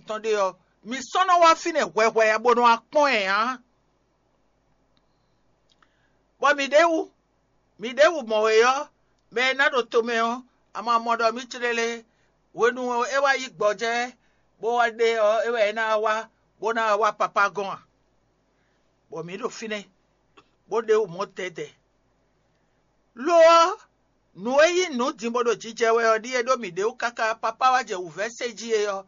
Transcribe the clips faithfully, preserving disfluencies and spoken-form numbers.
tɔn ɖe ɔ́, mi sɔ́ nɔ wá fínɛ́ hwɛhwɛ ǎ bó nɔ wá kpɔ́n ɛ ǎ. Bɔ mǐ ɖěwu, mǐ ɖěwu mɔ wě ɔ́, mɛ e ná ɖo tomɛ ɔ́, a ma mɔ ɖɔ mǐ clélé hwenu e é wá yí gbɔjɛ́ bó wá ɖe ɔ́, é wɛ é ná wá bó ná wá papá gɔ́n a? Bɔ mǐ ɖo fínɛ́, bó ɖe wǔ mɔ tɛ́tɛ́. Lo ɔ́, nǔ e nyí nǔ din bó ɖo jijɛ wɛ ɔ́ ɖíe ɖó mǐ ɖě wú káká papá wá jɛ wǔvɛ́ se jí é ɔ́,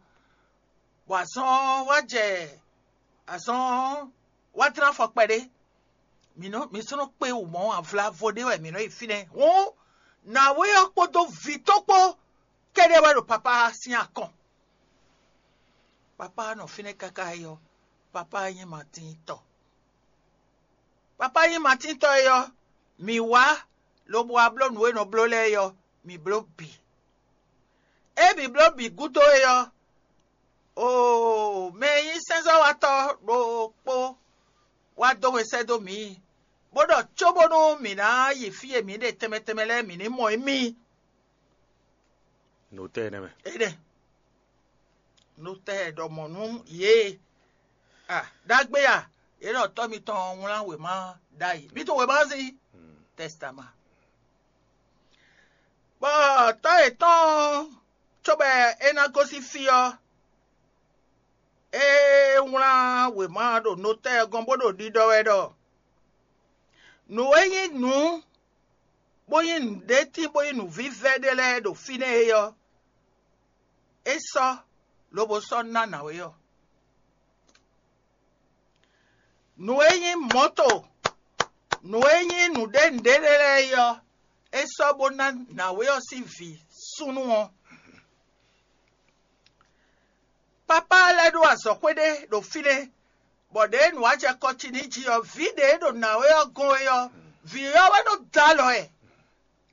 bɔ azɔn ɔ́ wá jɛ azɔn ɔ́ wá dlán afɔ kpɛɖé. Mǐ nɔ mǐ sɔ́ nɔ kpé wǔ mɔ̌ avlavo ɖé wɛ mǐ nɔ yi fínɛ́. Hǔn nǎwe ɔ́ kpódó vǐ tɔn kpó kɛ́ɖɛ́ wɛ ɖo papá sín akɔn. Papá nɔ fínɛ́ káká yi ɔ́, papá nyí Matín tɔ. Papá nyí Matín tɔ é ɔ́, mǐ wá lobo wá bló nǔ e nɔ bló lɛ́ɛ é ɔ́, mǐ bló bǐ. Ée mǐ bló bǐ gúdo é ɔ́, oo, mɛ e nyí sɛ́nzɔ́watɔ́ ɖokpó wá dó we sɛ́ dó mǐ, bó ɖɔ cóbónú mǐ ná yi fí e mǐ ɖe tɛnmɛ tɛnmɛ lɛ́ɛ mǐ ní mɔ émí. Notɛ́ nɛ́ mɛ. Énɛ́. Notɛ́ ɖɔ mɔ̌ nú yě. A ɖagbe a, yě ɖɔ tɔ́ mitɔn wlán wěma ɖ'ayǐ. Mi tunwun wěma ɔ́ sín tɛstama. Bɔ tɔ́ yětɔn cóbɔ é ná gosín fí ɔ́, é wlán wěma ɖo notɛ́ ɔ́ gɔ́n bó ɖo ɖiɖɔ wɛ ɖɔ nǔ e nyí nǔ bó nyí nǔɖétín bó nyí nǔvívɛ́ ɖé lɛ́ɛ ɖo fínɛ́ é ɔ́, é sɔ́ lobo sɔ́ ná nǎwe ɔ́. Nǔ e nyí mɔ̌to, nǔ e nyí nǔɖé nǔɖé lɛ́ɛ é ɔ́, é sɔ́ bó ná nǎwe ɔ́ sín vǐ súnnu ɔ́. Papá lɛ́ɛ ɖó azɔ̌xwé ɖé ɖo fínɛ́, bɔ ɖěe nǔ wá jɛ kɔ ci n'i jí ɔ́, vǐ ɖě e ɖo nǎwe ɔ́ gɔ́n é ɔ́, vǐ ɔ́ wɛ nɔ dó alɔ ɛ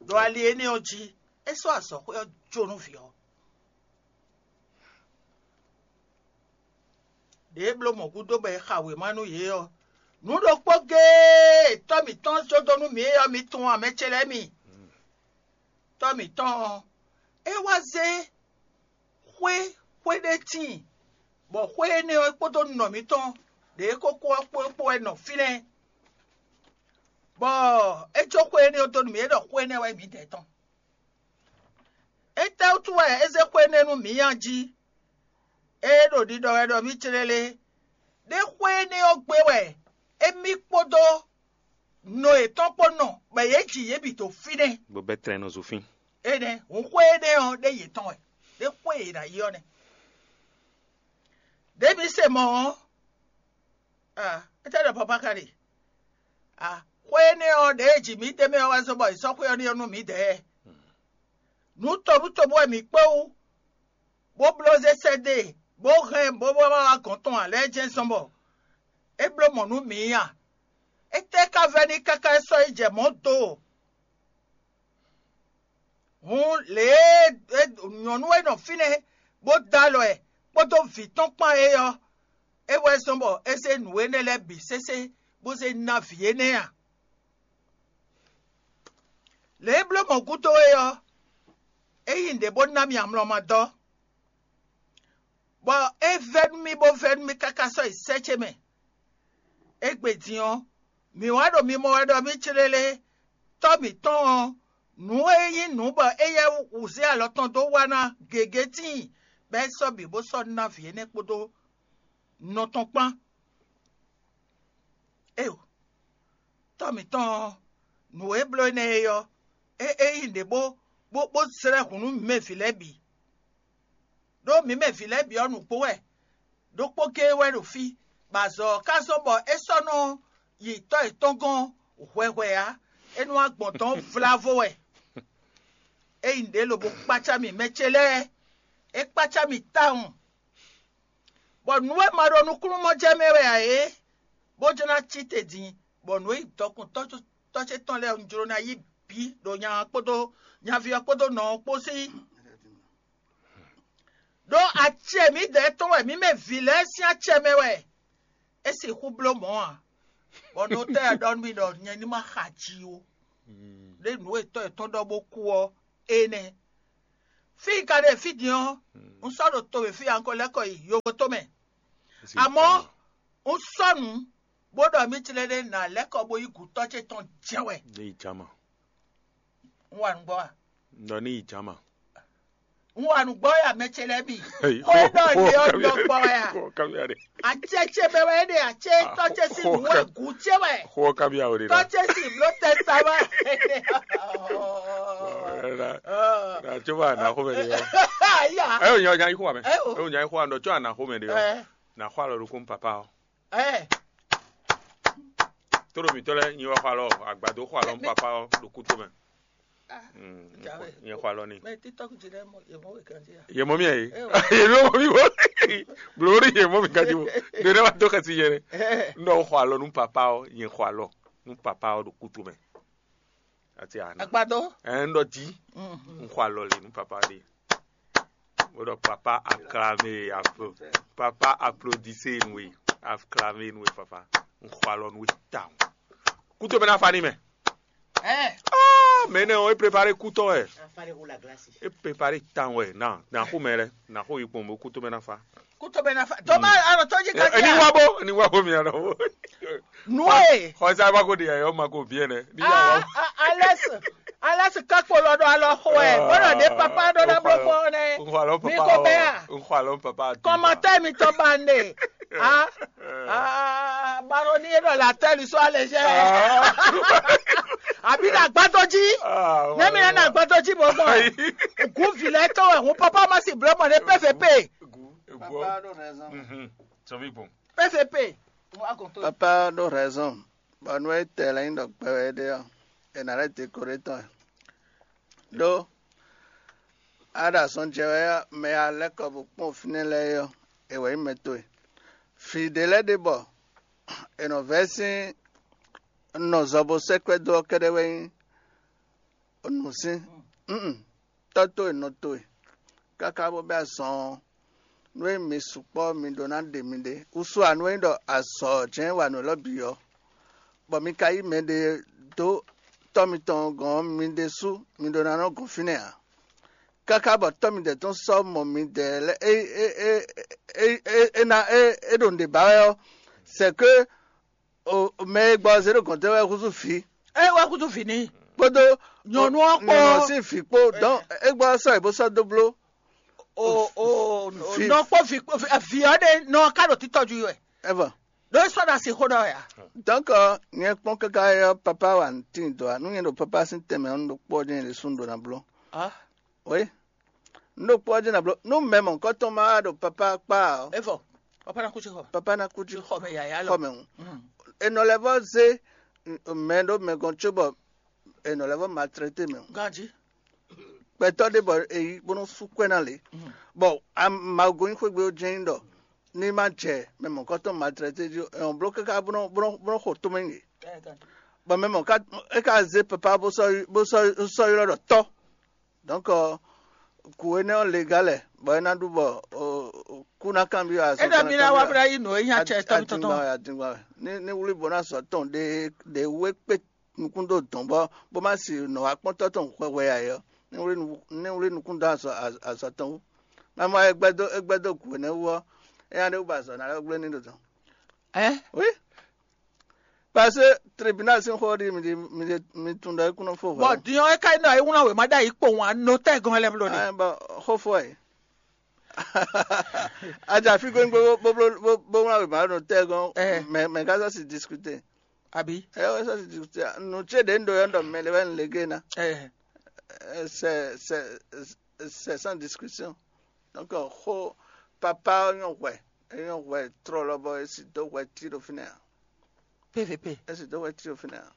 ɖo ali énɛ́ ɔ́ jí. É sɔ́ azɔ̌xwé ɔ́ jó nú vǐ ɔ́. Ɖě e bló mɔ̌ gúdo bɔ è xa wěma nú yě ɔ́, nǔ ɖokpó géé e tɔ́ mǐtɔn jó dó nú mǐ é ɔ́, mi tunwun a, mɛ ce lɛ́ɛ mi? Tɔ́ mǐtɔn ɔ́, é wá zé xwé xwé ɖé tíin, bɔ xwé énɛ́ ɔ́ kpódó nɔ mǐtɔn ɖě e kókó ɔ́ kpó kpó wɛ nɔ fínɛ́, bɔ é jó xwé énɛ́ ɔ́ dó nú mǐ, é ɖɔ xwé énɛ́ wɛ mǐdɛɛ tɔn. Étɛ́wútu wɛ é zé xwé énɛ́ nú mǐ a jí? Ée ɖo ɖiɖɔ wɛ ɖɔ mǐ clélé, ɖé xwé énɛ́ ɔ́ gbe wɛ émí kpódó nɔ yětɔn kpó nɔ, bɔ yě ji yě bǐ dó fínɛ́. Bó bɛ́ tlɛn nɔ zo fín. Énɛ́, hǔn xwé énɛ́ ɔ́ ɖé yětɔn wɛ, ɖé xwé e yě ná yi ɔ́ nɛ́. Ɖěe mǐ se mɔ̌ ɔ́, a, étɛ́ ɖɔ Papa ka ɖe? A, xwé énɛ́ ɔ́, ɖěe ji mǐ d'é mɛ ɔ́ wɛ zɔ́n bɔ è sɔ́ xwé ɔ́ n'i ɔ́ nú mǐdɛɛ. Nǔ tobútobú wɛ mǐ kpé wú, bó bló zé sɛ́ dó e, bó hɛn bó bó wá wá gɔ̌n tɔn ǎ lɛ́ɛ jɛ́n zɔ́n bɔ é bló mɔ̌ nú mǐ a? Étɛ́ ka vɛ́ n'i káká é sɔ́ yi jɛ mɔ̌ do? Hǔn lě e nyɔ̌nu e nɔ fínɛ́ bó dó alɔ ɛ kpódó vǐ tɔn kpán é ɔ́, é wɛ zɔ́n bɔ é zé nǔ énɛ́ lɛ́ɛ bǐ sésé bó zé ná vǐ énɛ́ a? Lě e bló mɔ̌ gúdo é ɔ́, é nyí nǔɖé bó ná mì amlɔ ma dɔ́, bɔ é vɛ́ nú mì bó vɛ́ nú mì káká sɔ́ yi sɛ́ ce mɛ. Égbé din ɔ́, mǐ wá ɖo mimɔ wɛ ɖɔ mǐ clélé tɔ́ mǐtɔn ɔ́, nǔ e nyí nǔ bɔ éyɛ́ wǔ zé alɔ tɔn dó wa ná gěgé tíin, bɔ é sɔ́ bǐ bó sɔ́ ná vǐ énɛ́ kpódó nɔ tɔn kpán. Éyo, tɔ́ mǐtɔn ɔ́, nǔ e bló énɛ́ é ɔ́, é é nyí nǔɖé bó bó bó zlɛ́ hǔn nú mǐ mɛ vǐ lɛ́ɛ bǐ. Ɖó mǐ mɛ vǐ lɛ́ɛ bǐ ɔ́, nǔgbó wɛ, ɖokpó géé wɛ ɖo fí, bɔ azɔ̌ ɔ́ ka zɔ́n bɔ é sɔ́ nɔ yi tɔ́ yětɔn gɔ́n hwɛhwɛ ǎ; é nɔ wá gbɔn dɔ̌n vlavo wɛ. É nyí nǔɖé lobo kpácá mì mɛ ce lɛ́ɛ; é kpácá mì tawun. Bɔ nǔ e ma ɖo nukúnnú mɔ jɛ mɛ wɛ ǎ é, bó jló ná cí te din, bɔ nǔ e nyí dɔkun tɔ́ ce tɔn lɛ́ɛ un jló ná yí bǐ ɖo nya ɔ́ kpódó nyaví ɔ́ kpódó nɔ ɔ́ kpó sí. Ɖó acɛ mǐdɛɛ tɔn wɛ mǐ mɛ vǐ lɛ́ɛ sín acɛ mɛ wɛ é sixú bló mɔ̌ ǎ, bɔ notɛ́ ɔ́ ɖɔ nú mì ɖɔ nyɛ ní ma xa ji ó. Ɖé nǔ e tɔ́ yětɔn ɖɔ bó kú ɔ́, énɛ́. Fí i ka ɖe fí din ɔ́, un sɔ́ ɖo to e fí a un ko lɛ́ kɔ yi yovo tomɛ. Amɔ̌, un sɔ́ nǔ, bó ɖɔ mì tlɛ́ɖɛ́ ná lɛ́ kɔ bó yi gǔ tɔ́ ce tɔn jɛ wɛ. Ní yi jama. Un wa nǔgbɔ a? Nɔ ní yi jama. Un wa nǔgbɔ wɛ a, mɛ ce lɛ́ɛ bǐ? Xó e ɖɔ lě ɔ́ ɖɔ gbɔ wɛ a? Acɛ ce mɛ wɛ é ɖe, acɛ tɔ́ ce sín nǔ wɛ gǔ ce wɛ. Xó ɔ́ kábíyá o ɖe. Tɔ́ ce sín bló tɛ sa wɛ. Nà tso wá nà xó mɛ ɖe ɔ́. Aya. Ɛ o nya nya yi xó wa mɛ. Ɛ o. Ɛ o nya yi xó wa nɔ tso ana xó mɛ ɖe ɔ́. Ɛ. Nà xó alɔ ɖokún papa ɔ́. Ɛ. Tó ɖo mǐtɔn lɛ́ɛ nyi wɛ xó alɔ agbado xó alɔ nú papa ɔ́ ɖo kúto mɛ. Nyɛ xó alɔ n'i. Mɛ TikTok jí lɛ mɔ yɛ mɔ wɛ kan jí ya. Yɛ mɔ mi yɛ. Yɛ mɔ mi wɔ. Blori yɛ mɔ mi kan jí wo. Ɖe ne wa dó xɛsi yɛ ne. N ɖɔ xó alɔ nú papa ɔ́, nyɛ xó alɔ nú papa ɔ́ ɖo kúto mɛ. Ati ana. Agbadɔ. Ɛ n ɖɔ jí. N xó alɔ le nú papa ɖe. Wo ɖɔ papa acclame aplo. Papa applaudissez nous. Acclame nous papa. N xó alɔ nú we tawun. Kúto mɛ ná fa ní mɛ. Ɛ. Ah, mɛ nɛ o, e prepare kú tɔn wɛ. E prepare tan wɛ na na xó mɛ lɛ na xó yi kpɔn bo kú tɔn mɛ na fa. Kú tɔn mɛ na fa. Tɔmɛ anɔ tɔn jí ka jí. Ni wa bo ni wa bo mi anɔ bo. Nue. Xɔsa ba ko de yɔ ma ko biɛ nɛ. Ni ya wa. Alɛs alɛs kakpo lɔ ɖo alɔ xo ɛ bɔlɔ ne papa ɖo na blo fɔ nɛ. N xɔ alɔ papa. Mi ko bɛ a. N xɔ alɔ papa. Kɔmatɛ mi tɔn ba ne. Ah, ah, baroni e ɖɔ la tɛli sɔ alɛ jɛ. Abi na gbadɔ ji. Ne mi na gbadɔ ji bɔ bɔ. Gu vilɛ tɔ wɛ hun papa ma si blɔ mɔ ne pɛfɛ pe. Papa ɖo raison. Sɔvi bon. Pɛfɛ pe. Papa ɖo raison. Bɔ nú e tɛ lɛ nyi ɖɔ gbɛ wɛ ɖe ɔ́, è nǎ lɛ́ dě ko ɖé tɔn ɛ. Ɖó a ɖo azɔn jɛ wɛ ɔ́, mɛ e a lɛ́ kɔ bó kpɔ́n fínɛ́ lɛ́ɛ é ɔ́, è wɛ nyí mɛ towe. Vǐ ɖé lɛ́ɛ ɖe bɔ è nɔ vɛ́ sín nɔ zɔ bó sɛ́ kwɛ́ dó ɔ́ kɛ́ɖɛ́ wɛ nyí nǔsín. Tɔ́ towe nɔ towe, káká bó bɛ́ azɔn ɔ́, nú e mi sukpɔ́ mi ɖó ná ɖe miɖée, wúsú ǎ nú é nyí ɖɔ azɔ̌ jɛ́n wa nǔ élɔ́ bǐ ɔ́, bɔ mi ka yí mɛɖé dó tɔ́ mitɔn gɔ̌n ɔ́, mi ɖésú mi ɖó ná nɔ gɔn fínɛ́ ǎ. Káká bɔ tɔ́ midɛɛ tɔn sɔ́ mɔ midɛɛ lɛ́ɛ é é é é é é ná é é ɖo nǔɖé ba wɛ ɔ́, c'est que o mɛ e gbɔ ɔ́ zé ɖo gɔ̌n tɛ́ wɛ húzú vǐ. É wɛ húzú vǐ n'i. Kpódó nyɔ̌nu ɔ́ kpó nyɔ̌nu ɔ́ sín vǐ kpó dɔn é gbɔ ɔ́ sɔ́ yě bó sɔ́ dó bló. O o nɔ kpó vǐ vǐ ɔ́ ɖe nɔ ká ɖo títɔ́jú wɛ. Ɛvɔ. Ɖó é sɔ́ ɖo asi xó ɖɔ wɛ a? Donc nyɛ kpɔ́n káká ɔ́ papa wa tíin dɔ̌ ǎ. Nú nyɛ ɖo papa sín tɛnmɛ ɔ́, un ɖo kpɔ́ ɔ́ jɛ́n ɖésú un ɖó ná bló. Ah. Oui. Un ɖo kpɔ́ ɔ́ jɛ́n ná bló. Nú mɛ mɔ̌hunkɔtɔn ma wá ɖo papa kpá ɔ́, Evɔ, papa na kú tsi xɔ. Papa na kú tsi xɔ mɛ yaya lɔ. Xɔ mɛ ŋu. Enɔ lɛ́ vɔ zé mɛ ɖó mɛ gɔn cóbɔ enɔ lɛ́ vɔ maltraité mɛ ŋu. Ganji. Gbɛtɔ́ ɖé bɔ è yi bó nɔ́ sú kwɛ́ ná lě. Bɔ Mawu gɔ́n nyi xwé gbe ó jɛ́n nyí ɖɔ ní má jɛ mɛ mɔ̌hunkɔtɔn maltraité jí, è nɔ bló káká bó nɔ́ bó nɔ́ bó nɔ́ xo tómɛ nyi yě. Bɔ mɛ mɔ̌ ká é ká zé papa bó sɔ́ bó sɔ́ sɔ́ ylɔ́ ɖɔ tɔ́. Donc kǔ énɛ́ ɔ́ le gá lɛ bɔ é ná ɖu bɔ kú ná kanbyɔ́ azɔn. É ɖɔ mi ná wá bó ná yí nǔ e nyí acɛ tɔn tɔn. Adingban wɛ adingban wɛ ní ní wlí bó ná sɔ tɔn ɖe ɖe wú é kpé nukún dó dɔ̌n bɔ bó má si nɔ wá kpɔ́n tɔ́ tɔn hwɛhwɛ ǎ é ɔ́, ní wlí nukún dó azɔ̌ tɔn wú. Má mɔ é gbɛ́ dó é gbɛ́ dó gǔ énɛ́ wú ɔ́, é nya ɖé wú bɔ azɔ̌ ná lɛ́ gblé ní ɖo dɔ̌n. Ɛ? Oui. Parce que tribunal sín xó ɔ́ ɖi mi ɖi mi ɖi mi tunwun ɖɔ é kún nɔ fó hwɛ. Bɔ din ɔ́ é ka nɔ é wlán wěma ɖ'ayǐ kpowun anotɛ́ gɔn lɛ́ɛ bló ɖe. Ɛ bɔ xó fó ɛ. Adza fí gbégbé bó bó bó bó wlán wěma ɖo tɛ́ gɔn mɛ mɛ ká sɔ́ si discuter. Àbí? Ɛ wɛ sɔ́ si discuter nù tí èdè ń ɖo yɔ́ ń ɖɔ mɛ lè wɛ ń le gé ná. Ɛ. C'est c'est c'est sans discussion. Donc xó papa ɔ́ nyɔ́ hwɛ é nyɔ́ hwɛ trɔ́ lɔ bɔ é si dó hwɛ tí ɖo fínɛ́ ǎ. P V P. É si dó hwɛ tí ɖo fínɛ́ ǎ.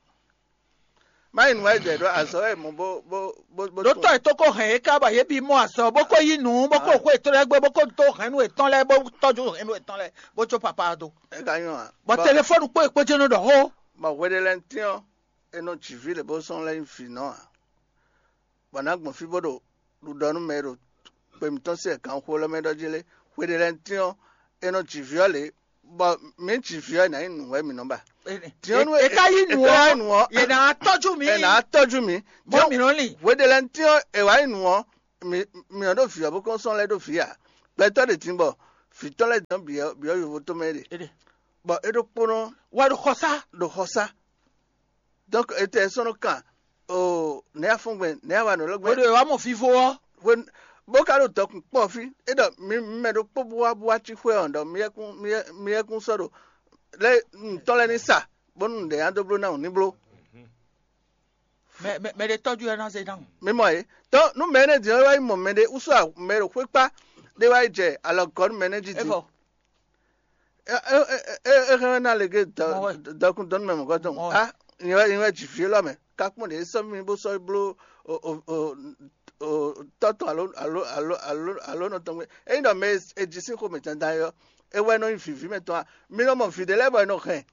Má yi nǔ wá jɛ ɖó azɔ̌ wɛ mɔ bó bó bó bó. Ɖó tɔ́ è tó kó hɛn yě ká bɔ yě bí mɔ azɔ̌ bó kó yí nǔ bó kó xó ètò lɛ́ɛ gbé bó kó dó hɛ̌nnu ètɔn lɛ́ɛ bó tɔ́jú hɛ̌nnu ètɔn lɛ́ɛ bó jó papa ɔ́ dó. É ka nyɔ́ ǎ. Bɔ telefɔ́nu kpó è kpó jɛ́n nɔ ɖɔ xó. Bɔ hweɖelɛntɛ́n ɔ́, è nɔ jǐ vǐ lě bó sɔ́ lɛ́ nyí vǐ nɔ ǎ. Bɔ nǎ gbɔn fí bó ɖo ɖuɖɔ nú mɛ e ɖo gbe mǐtɔn sín ɛganxo lɛ́ɛ mɛ ɖɔ jí lé. Hweɖelɛntɛ́n ɔ́, è nɔ ji vǐ ɔ́ lě, bɔ mǐ ji vǐ ɔ́, è nǎ nyí nǔ wɛ mǐ nɔ ba. Diɔ́nú e ka yí nǔ ɔ́, yě ná tɔ́jú mǐ. È nǎ tɔ́jú mǐ. Bɔ mǐ nɔ lin. Hweɖelɛntɛ́n ɔ́, è wǎ nyí nǔ ɔ́, mi mi ɔ́ ɖo vǐ ɔ́ bó kɔn sɔ́n lɛ́ ɖó vǐ ǎ. Gbɛtɔ́ ɖě din bɔ vǐ tɔn lɛ́ɛ dɔn byɔ̌ byɔ̌ yovo tɔn mɛ ɖe. Bɔ é ɖokpónɔ wɛ ɖo xɔ sá. Ɖo xɔ sá. Donc etɛ sɔ́ nɔ kan o nɛ̌ afɔ́ngbɛn nɛ̌ awa nǔ lɔ́gbɛn. Hwenu e wǎ mɔ vivo ɔ́. Hwenu bó ka ɖo dɔkun kpɔ́ fí é ɖɔ mi mi mɛ ɖokpó bó wá bó wá cí xwé ɔ́ ɖɔ mi yɛkún mi yɛ- mi yɛkún sɔ́ ɖo lɛ ntɔ́ lɛ́ɛ ní sa bónú nǔɖé nya dó bló ná wǔ ní bló. Mɛ mɛ mɛ ɖe tɔ́jú ɛ ná zé ná. Mi mɔ yě. Tɔn nú mɛ énɛ́ din ɔ́ é wá yi mɔ mɛ ɖé wúsú mɛ ɖo xwé kpá ɖé wá yi jɛ alɔ gɔ̌ nú mɛ énɛ́ jí din. Evɔ É hɛn ná lě gé dɔkun dɔn mɛ mɔ̌kɔ tɔn. Mɔ. A nyɛ wɛ nyɛ wɛ dzi vǐ élɔ́ mɛ. Ká kpɔ́n ɖě sɔ́ mì bó sɔ́ bló tɔ́ tɔn alo alo alo alo alo nɔ tɔn gbé. Ényí ɖɔ mɛ e jí sín xomɛ dandan é ɔ́, é wɛ nɔ nyí vǐví mɛ tɔn a? Mi nɔ mɔ vǐ ɖé lɛ́ɛ bɔ è nɔ hɛn,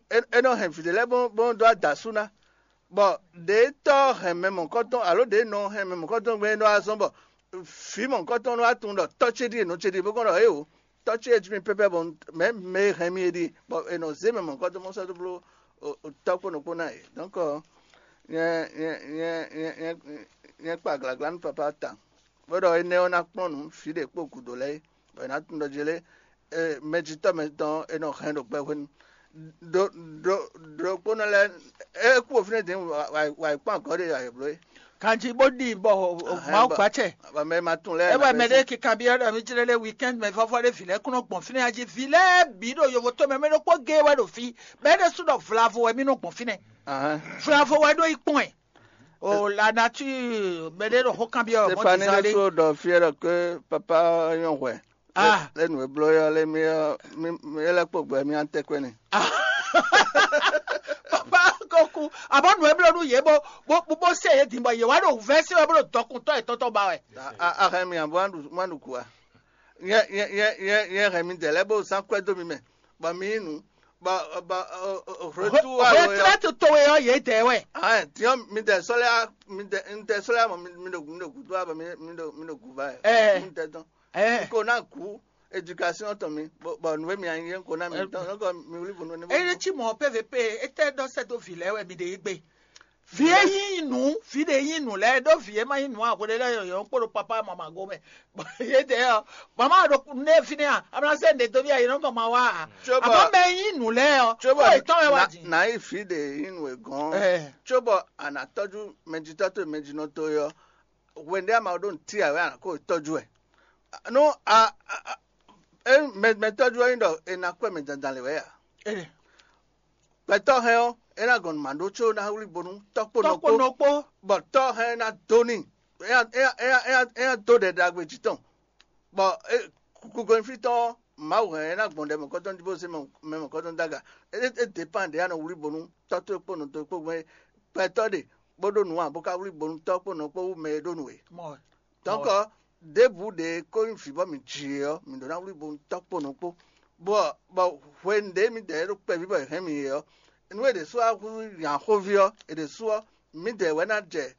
è nɔ hɛn vǐ ɖé lɛ́ɛ bó bó nɔ dó adǎ sú ná. Bɔ ɖě tɔ́ hɛn mɛ mɔ̌kɔtɔn alo ɖě nɔ hɛn mɛ mɔ̌kɔtɔn gbé é nɔ wá zɔ́n bɔ vǐ mɔ̌kɔtɔn nɔ wá tunwun ɖɔ tɔ́ ce ɖíe nɔ ce ɖíe bó kɔn ɖɔ éeǒ, tɔ́ ce e jí mi pɛ́pɛ́ bɔ mɛ̌ mɛ e hɛn mi é ɖíe, bɔ è nɔ zé mɛ mɔ̌kɔtɔn mɔ sɔ́ dó bló tɔ́ kpó nɔ kpó ná yě. Donc nyɛ nyɛ nyɛ nyɛ nyɛ nyɛ kpa glagla nú papa ta, bó ɖɔ énɛ́ ɔ́ ná kplɔ́n nǔ fǐ ɖě kpo gǔdo lɛ́ɛ é, bɔ è nǎ tunwun ɖɔ jě lé mɛjitɔ́ mɛtɔn e nɔ hɛn ɖo gbɛ hwenu. Ɖokpónɔ lɛ́ɛ é kú fínɛ́ din wǎ yi kpɔ́n agɔ̌ ɖé ayǐ bló é. Kanjí bó ɖi bɔ Mawu gbacɛ. Mɛ ma tunwun lɛ́ɛ. É wɛ mɛ ɖé kikan byɔ́ ɖɔ mí jlɛ́ lé weekend mɛ vɔ́vɔ́ ɖé vǐ lɛ́ɛ kún nɔ gbɔn fínɛ́ jí. Vǐ lɛ́ɛ bǐ ɖo yovo tó mɛ mɛ ɖokpó géé wɛ ɖo fí. Mɛ ɖé sú ɖɔ vlavo wɛ mí nɔ gbɔn fínɛ́. Vlavo wɛ ɖó yi kpɔ́n ɛ. O la nature mɛ ɖé ɖo xó kanbyɔ́ mɔ Stéphanie dizan lé. Lé ɖo ɖɔ fí ɖɔ ke papa nyɔ hwɛ. Ah. Lé nu e bló yɔ lé mi ɔ́ mi mi lɛ́ kpo gbɛ mi an tɛ́ kɔ́ n'i. Papa ko ku abɔ nu e bló nú yě bó bó bó se yě din bɔ yě wá ɖo vɛ́ se wɛ bó ɖo dɔkuntɔ́ yětɔn tɔn ba wɛ. A a hɛn mi abo an ɖu an ɖu ku a? Yɛ yɛ yɛ yɛ yɛ hɛn mi dɛ lɛ bó zán kwɛ dó mi mɛ bɔ mi yí nu bɔ bɔ retour alo yɔ. Retraite towe ɔ́ yě dɛ wɛ. Ahan tiɲɔ mi dɛ sɔlɛ mi dɛ mi dɛ sɔlɛ mɔ mi mi ɖo mi ɖo gudo abɔ mi mi ɖo mi ɖo guva yɛ. Ɛɛ. Mi dɛ dɔn. Ɛɛ. Ko ná ku éducation tɔn mi bɔ bɔ nǔ e mi anyi yɛ ko ná mi tɔn nɔkɔ mi wuli bunu ne. Eye ci mɔ P V P etɛ dɔ sɛ do vi lɛ wɛ mi ɖe yi gbe. Vi e yin nu vi ɖe yin nu lɛ ɖo vi e ma yin nu a hwele lɛ yɔyɔ kpo ɖo papa mama go mɛ. Ye de ɔ mama ɖo ne fi ne a amla se ne do mi a yi nɔkɔ ma wa a. Tso bɔ- Àmọ́ mɛ yin nu lɛ ɔ Tso ko bɔ etɔn wɛ wa na- di. Na yi fi ɖe yin nu e gɔn. Ɛɛ. Tso bɔ a na tɔju mɛjitɔ to mɛjinɔ to yɔ. Hwenu ɖé a ma ɖo nǔ ti a wɛ a nǎ ko tɔ́jú wɛ. Nú a a- a- e mɛ mɛ tɔ́jú ɔ́ nyí ɖɔ è nǎ kpɛ́ mɛ dandan lě wɛ a? Ee, Gbɛtɔ́ hɛn ɔ́, é ná gɔn nǔ ma ɖó có ná wlí bónú tɔ́ kpó nɔ tɔ́kpo kpó, nɔ kpó. Bɔ tɔ́ hɛn ná dó n'i. É ná é ná é ná é ná é ná dó ɖɛ ɖagbe jǐ tɔn. Bɔ é kukugo nyí fí tɔn ɔ́, Mawu hɛn é ná gbɔn ɖɛ mɔ̌kɔtɔn jí bó zé mɛ mɛ mɔ̌kɔtɔn dó aga. É é dépend ɖě a nɔ wlí bónú tɔ́ towe kpó nɔ towe kpó gbɛn gbɛtɔ́ ɖe bó ɖó nǔ ǎ bó ka wlí bónú tɔ́ kpó nɔ kpó wú mɛ e ɖó nǔ é. Mɔ Donc, ɖěbǔ ɖě ko nyí vǐ bɔ mǐ ji é ɔ́, mǐ ɖó ná wlí bo tɔ́ kpo nɔ kpó. Bɔ bɔ hwenu ɖě mǐdɛɛ ɖo kpɛví bɔ è hɛn mì é ɔ́, nú è ɖě sú wá húzú nya xóví ɔ́, è ɖě sú ɔ́, mǐdɛɛ wɛ ná jɛ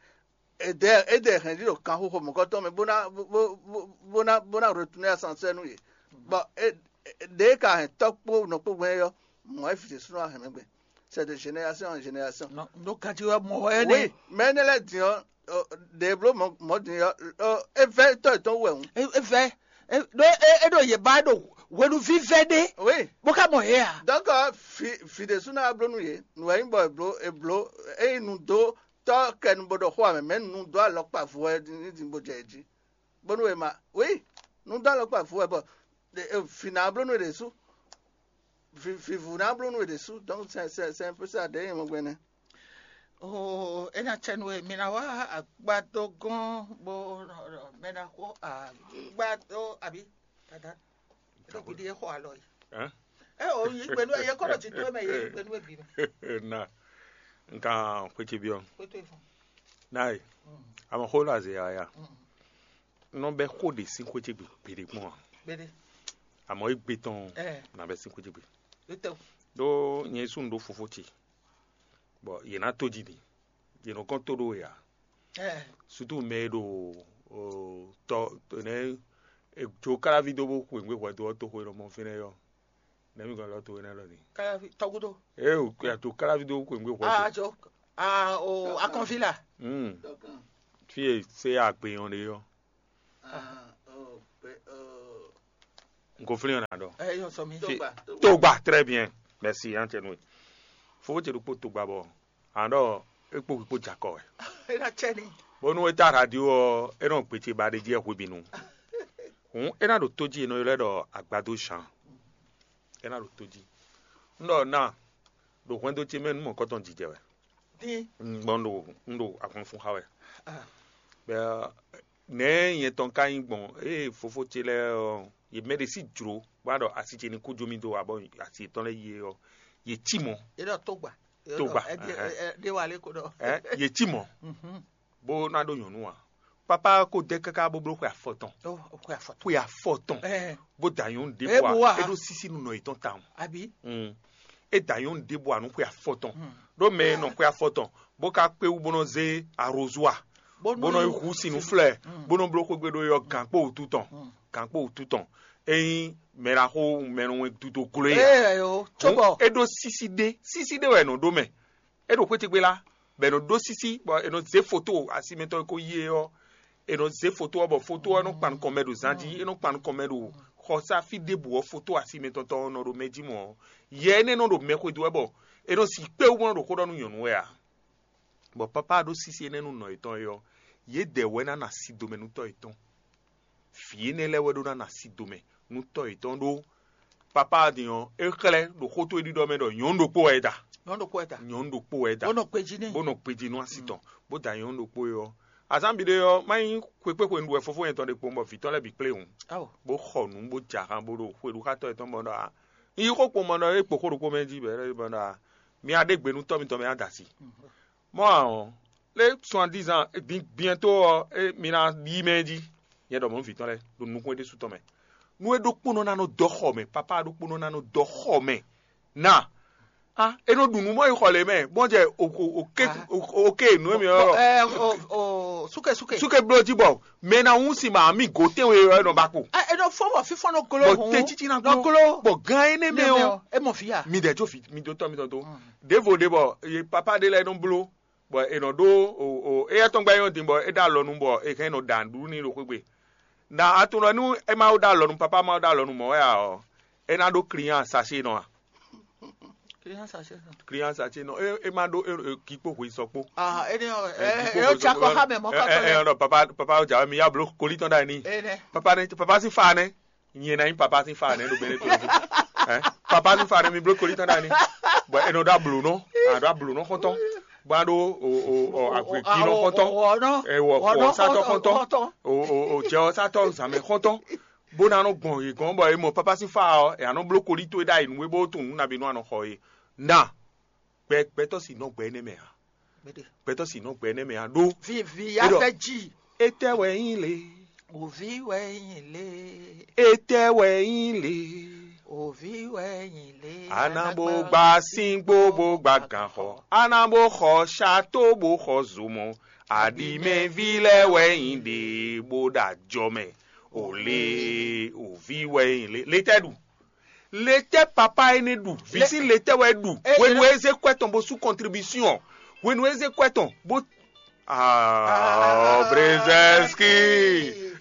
èdɛɛ èdɛɛ hɛn ɖi ɖo kanxoxo mɔ̌kɔtɔn mɛ bó ná bó bó bó ná bó ná retourner ascenseur nú yě. Bɔ é ɖě ka hɛn tɔ́ kpó nɔ kpó gbɛn é ɔ́, mɔ̌ wɛ vǐ ɖésúnɔ wá hɛn mɛ gbɛn. C'est de génération en génération. Nɔ nɔ gadi wɛ mɔ wɛ ne. Oui, mais ne lɛ din ɔ, ɖe blo mɔ mɔ din ɔ, e vɛ tɔ etɔn wɛ ŋu. E vɛ ɖo e ɖo yeba ɖo hwenuvi vɛ ɖe. Oui. Bó ká mɔ he a. Donc fi fi ɖe suna blo nu ye, nu wɛ yin bɔ eblo eblo eyi nu do tɔ kɛ nu bo ɖɔ xo amɛ, mais nu do alɔkpa vo wɛ ni din bo jɛ ji. Bónú è ma, oui, nú dó alɔkpa vú wɛ bɔ vǐ ná bló nú è ɖě sú. Vǐvú ná bló nú è ɖě sú. Donc c'est c'est c'est un peu ça ɖě nyɛ mɔ gbɛnɛ. Oh, é ná tsɛ nú we mi ná wá agbadó gɔ́n bó mɛ ná xó agbadó àbí dada. É ɖo gǔdí é xɔ alɔ yi. Hein? É o yi gbɛnú é kɔnɔ ti tó mɛ yé yi gbɛnú é bǐ mɛ. Na nka xwetsi biɔ. Xwetsi fún. Nae. Ama xó la ze ya. Nɔ bɛ xó ɖe sín xwé ce gbe gbeɖe kpɔn a? Amɔ égbe tɔn na bɛ sín xwé ce gbe. Ɖó nyɛ sú nu ɖó fofó ce, bɔ yě ná tó jí mi, yě nɔ kɔn tó ɖó ya. Sutu mɛ e ɖo tɔ nɛ jo káláví dó bó xweyǐngbe hwɛdo ɔ́ toxo e nɔ mɔ fínɛ́ yɔ. Nɛ̌ mi gɔn lɔ towe nɛ́ lɔ din? Tɔgúdó. Ee o kúya tó káláví dó xweyǐngbe hwɛdo. Ah jo ah o akɔnví la. Hmm. Fí e sé agbe nyɔ ɖe ɔ́, Ah, oh, pe- oh. N ko flín ɔ́ ná ɖɔ. Eh, yɔ sɔ mi. Fi- Togba, togba. Togba, très bien. Merci, hein, Tienwe. Fofó ce ɖokpó togba bɔ, aɖɔ é kpó kpó jakɔ wɛ. É ná tsɛ ni. Bónú é ta radio ɔ́, é nɔ gbece ba ɖe jí ɛ hwebinu. Hǔn é ná ɖo tó jí, è nɔ ylɔ́ ɛ ɖɔ agbado Jean. É ná ɖo tó jí. Un ɖɔ ná, ɖo hwɛndo ce mɛ nú mɔ̌kɔtɔn jijɛ wɛ. Dín. Un gbɔn ɖo un ɖo ahwan fún xa wɛ. Ah. Bɛ nɛ̌ nyɛ tɔn ka nyí gbɔn ée fofó ce lɛ́ɛ ɔ́, yě mɛ ɖé sí jlǒ bó wá ɖɔ asi ce ní kú jó mì dó abɔ asi yětɔn lɛ́ɛ yi é ɔ́, yě cí mɔ̌. Yě ɖɔ tógba. Tógba, Ɛ, ɛ, ɛhɛn. Ɛ, ɛ, ɖé wa lé ko ɖɔ. Ɛ, yě cí mɔ̌ Mhm. Bó ná ɖó nyɔ̌nu ǎ. Papá ko dɛ káká bó bló xwe afɔtɔn. Ó, xwe afɔtɔn. Xwe afɔtɔn. Ɛ, Bó da nyɔ̌nu ɖěbǔ Ɛ, bó wá. Ǎ, é ɖó sísí nú nɔ yětɔn tawun. Abi. Mm. É da nyɔ̌nu ɖěbǔ ǎ nú xwe afɔtɔn. Mm. Ɖó mɛ e nɔ xwe afɔtɔn, bó ka kpé wú bó nɔ zé arozua, Bó bó nɔ nɔ yi yi hu sin nú flɛ, Mm. bó nɔ bló xwégbe ɖó yɔ gǎnkpó wútu tɔn. Mm. Gǎnkpó wútu tɔn. É nyí mɛ ɖaxó mɛ nɔ wɛn dudo gló é ǎ. Ée yo, Hǔn cóbɔ. É ɖó sísí ɖé, sísí ɖé wɛ è nɔ ɖó mɛ. É ɖo xwé ce gbé lá, bɔ è nɔ ɖó sísí, bɔ è nɔ zé foto asi mɛtɔn e ko yí é ɔ́, è nɔ zé foto ɔ́, bɔ foto ɔ́ nɔ kpan nukɔn mɛ ɖo zan jí, é nɔ kpan nukɔn mɛ ɖo xɔsá fí ɖěbǔ ɔ́, foto asi mɛtɔn tɔn ɔ́ nɔ ɖo mɛ jí mɔ̌ ɔ́, yɛ énɛ́ nɔ ɖo mɛ xwedó wɛ bɔ è nɔ si kpé wú bó nɔ ɖo xó ɖɔ nú nyɔ̌nu wɛ ǎ. Bɔ papá ɖó sísí énɛ́ nú nɔ yětɔn é ɔ́, yědɛɛ wɛ ná na si domɛ nú tɔ́ yětɔn. Vǐ énɛ́ lɛ́ɛ wɛ ɖó ná na si domɛ nú tɔ́ yětɔn ɖó papá din ɔ́, é xlɛ́ ɖo xó towe ɖiɖɔ mɛ ɖɔ nyɔ̌nu ɖokpó wɛ é da. Nyɔ̌nu ɖokpó wɛ da. Nyɔ̌nu ɖokpó wɛ é da. Bó nɔ kpejí n'i. Bó nɔ kpejí nú asi tɔn, bó da nyɔ̌nu ɖokpó é ɔ́. Azán bǐ ɖé ɔ́, má nyí xwe kpé xwe un ɖu wɛ fofó yɛn tɔn ɖe kpowun bɔ vǐ tɔn lɛ́ɛ bǐ kplé hǔn. Awo. Bó xɔ nǔ bó jɛ ahan bó ɖo xwe ɖu xá tɔ́ yětɔn bɔ ɖɔ a. Un yí xó kpowun bɔ ɖɔ é kpo xó ɖokpó mɛ jí bɔ é ɖɔ a. Mi a ɖe gbe nú tɔ́ mitɔn mɛ a da asi. Mɔ̌ ǎ ɔ́, lé suandizan din biɛ́ntó ɔ́, é mi ná yí mɛ jí. Nyɛ ɖɔ mɔ̌ vǐ tɔn lɛ́ɛ ɖo nukún é ɖésú tɔn mɛ. Nú é ɖokpónɔ ná nɔ dɔ xɔ mɛ, papá ɖokpónɔ ná nɔ dɔ xɔ mɛ. Na a é nɔ ɖu nǔ mɔ yi xɔ lě mɛ, bɔn jɛ oke oke nǔ e mi ɔ́. Ɛ, o, o, súkè, súkè. Súkè bló jí bɔ mɛ ná wún si ma mi gǒ tɛ́nwe ɔ́ nɔ ba kpo. Ɛ, é nɔ fɔ bɔ fífɔ́n nɔ gló Bɔ hǔn. Tɛ́ títí ná Nɔ gló. Gló. Bɔ gan énɛ́ mɛ Nɛ mɛ ɔ́, ɔ, é mɔ fí ya. Mi dɛ jó fi mi dó tɔ́ mitɔn tó. Ɖěvo ɖě bɔ ye papá ɖé lɛ́ɛ nɔ bló bɔ è nɔ ɖó o o éyɛ́ tɔn gbá nyɔ́ din bɔ é ɖó alɔ nu bɔ è hɛn nɔ ɖa nǔɖuɖu n'i ɖo xwé gbe. Na a tunwun ɖɔ nú é ma ɖó alɔ nu papá ma ɖó alɔ nu mɔ̌ wɛ ǎ ɔ́, é ná ɖó client sachet nɔ a? Client sachet nɔ. Client sachet nɔ é é ma ɖó é é kí kpó hwe sɔ kpó. Ah, é ní ɔ Ɛ, ɛ kí kpó ɛ hwe ó tsa sɔ kɔ kpó. Xá mɛ mɔ̌ Ɛ, kɔtɔ ɛ, ɛ, lɛ. Ɔnɔ papa papa ó jà mí yá bló kolí tɔn ɖa ní. Ene. Papa ní papa sín fa nɛ. Nyɛ ná nyí papa sín fa nɛ ɖo bɛnɛ tó. Ɛ, papa sín fa nɛ mi bló kolí tɔn ɖa ní. Bɔ è nɔ ɖó ablǒnɔ, a ɖó ablǒnɔ xɔ́ntɔn, bó a ɖó o o o agbègbínɔ xɔ́ntɔn, Ɔnɔ. Ɛ wɔ Ɔnɔ xɔ sátɔ xɔ́ntɔn, xɔ́ntɔn. O o o jɛ ɔ sátɔ zǎnmɛ xɔ́ntɔn, bó ná nɔ gbɔn yě gɔ́n bɔ è mɔ papa sín fa ɔ́, è nɔ bló kolí towe ɖ'ayǐ nú é bó tunwun nú nabí nú a nɔ xɔ é. Na gbɛ gbɛtɔ́ si nɔ gbɛ énɛ́ mɛ ǎ. Gbɛtɔ́ si nɔ gbɛ énɛ́ mɛ ǎ ɖó. Vivi Eɖɔ. Afɛ dzi. Etɛ wɛ nyí le. Òvi wɛ nyí le. Etɛ wɛ nyí le. Òvi wɛ nyí le. Anabo gba síngbó bó gba gǎnxɔ. Anabo xɔ ṣato bó xɔ zomɔ. Aɖimɛví lɛ́ɛ wɛ nyí ɖě bó ɖo ajɔ mɛ. Ò le, òvi wɛ nyí le. Le tɛ ɖu. Le tɛ papa énɛ́ ɖu. Vǐ Le- sín le tɛ wɛ ɖu. E- Hwenu e zé kwɛ tɔn bó sú contribution. Hwenu e zé kwɛ tɔn bó. Ah, Brzezinski.